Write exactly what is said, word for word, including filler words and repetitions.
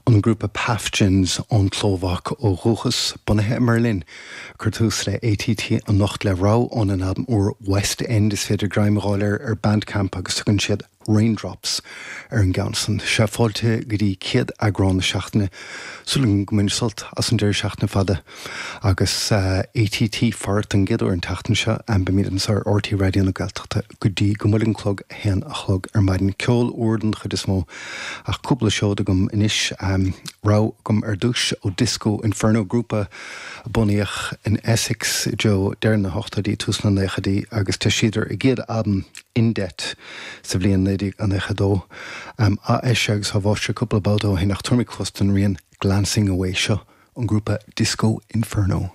An grúpa Paphjins ón tSlóvaic ó dhúchas bunaithe i mBerlin chuir tús le ATT anocht le rogha óna n-albam úr West End is féidir greim a fháil air ar Bandcamp agus tugann siad Raindrops ar an gceann san. Sé fáilte go dtí céad eagrán na seachtaine sula go mbain sult as an deireadh seachtaine fada agus uh, ATT fart an gcéad uair an tseachtain seo an beimid anseo ar RTÉ Raidió na Gaeltachta go dtí go mbuailfidh an clog a haon a chlog ar maidin ceol úr den chuid is mó ach cúpla seod agam anois um, rogha agam ar dtús ó Disco Inferno grúpa a bunaíodh in Essex Joe deireadh na hochtóidí tús na nóchaidí agus d'eisigh a gcéad albam In Debt sa bhliain naoi déag nócha dó um, a eis agus háse cúpla babhta ó shin ach tuairimi clos den rian Glancing Away seo an grúpa Disco Inferno.